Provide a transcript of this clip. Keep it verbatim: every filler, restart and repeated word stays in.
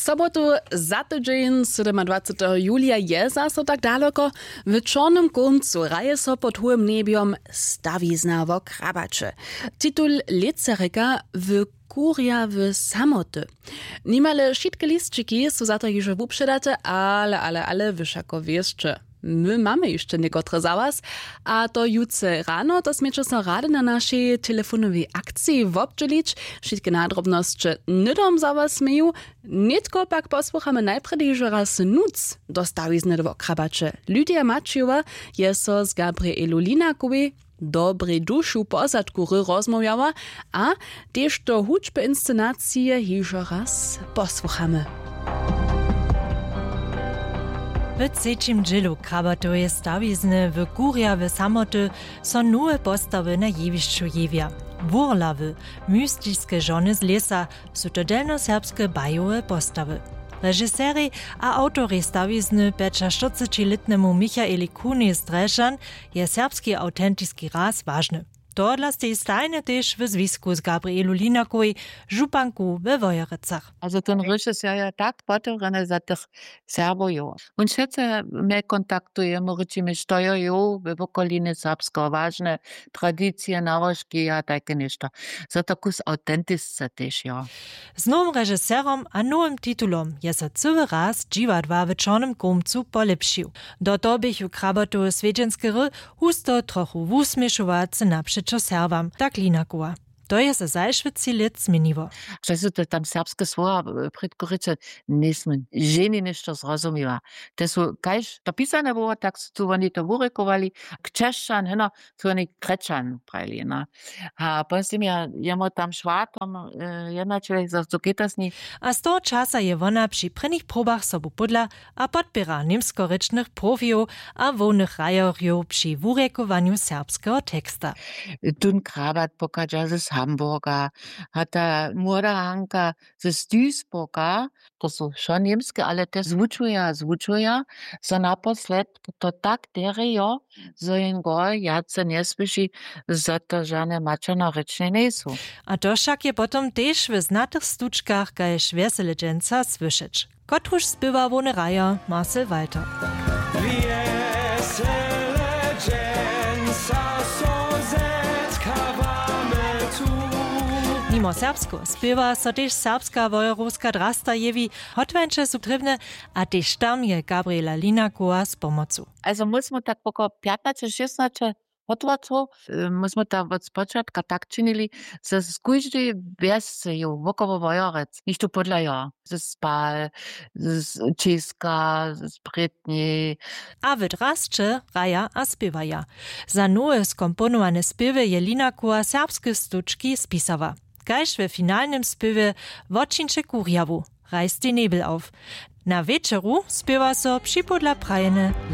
Sobotu za tydźeń, sydomadwaceteho julija, je zaso tak daloko. W čornym kómcu hraje so pod hołym njebjom stawizna wo krabaće. Titul lětserjeka w kurja w samoty. Nimale wšitke lisćiki su za to hižo wupředate, ale ale ale wy wšako wěsće, my mamy hišće někotre za was. A to jutře rano, to směće so rady na našej telefonowej akciji wobdźělić. Wšitke nadrobnosće hnydom za was měju. Nětko pak posłuchamy najprjedy hižo raz nutř do stawizny do wokrabaće. Lydia Maćijowa je so z Gabrielu Linakowej dobrej dušu pozadku hry rozmołwjała, a tež do hudźby inscenacije hižo raz posłuchamy. W třećim dźělu krabatoweje stawizny w kurja w samoty so nowe postawy na jewišću jewja. Wurlawy, mystiske žony z lěsa, su to delnjoserbske bajowe postawy. Režiserej a awtorej stawizny pjećaštyrcećilětnemu Michaeli Kunej z Drježdźan je serbski awtentiski raz wažny. Tohodla stej stajnje tež w zwisku z Gabrielu Linakowej, županku we Wojerecach. A za ten režiser je tak potewrjene za tych Serbow jo. Wón wšetce mje kontaktuje, móžeći mi što jo jo we wokolinje serbskeho wažne, tradicije, nałožki a tajke něšto. Za to kus awtentisce tež jo. Z nowym režiserom a nowym titulom je so cyły raz dźiwadła w čornym kómcu polěpšił. Do toho běchu krabatowe swjedźenske hry husto trochu wusměšowace napřećo Serbam, tak Linakowa. To je so zašły tři lět změniło. Přesto to tam serbske słowa, předkuriće, njejsmy ženje něšto zrozumiła. Te su kaž to pisane było, tak su tu woni to wurěkowali. Křesćan heno, su woni křesćan prajili, no. A pozdźe ja jemu tam šwatom jednaćelech za cuketasni. A z toho časa je wona při prěnich probach sobu pódla a podpěra němskorěčnych profijow a hłownych hrajerjow při wurjekowanju serbskeho teksta. Tón krabat pochadźa z Hamburga, a ta młoda Hanka z Duisburga. To su wšo němske, ale te zwučuja zwučuja, zo naposled to tak derjejo, zo jim go wjace njesłyši, zo to žane maćernorěčnje njejsu. A to wšak je potom tež w znatych stučkach kaž wjesele dźensa słyšeć. Kotruž spěwa hłowny hrajer Marcel Walter. Nimo serbskeho spěwa so tež serbska wojerowska drasta jewi. Hotwańće su trěbne, a tež tam je Gabriela Linakowa z pomocu. Also móžmy tak poko pjatnaće šěsnaće hotłacow. Móžmy tak wot spočatka tak činili, zo z kóždej wjesce je wokoło wojerec něšto pódla jo, ze spal, z čěska, z prětni. A w drasće hraja a spěwaja. Za nowe skomponowane spěwy je Linakowa serbske stučki spisała, kaž we finalnym spěwje Wočińće kurjawu, Reiß den Nebel auf. Na wječoru spěwa so připodla prajene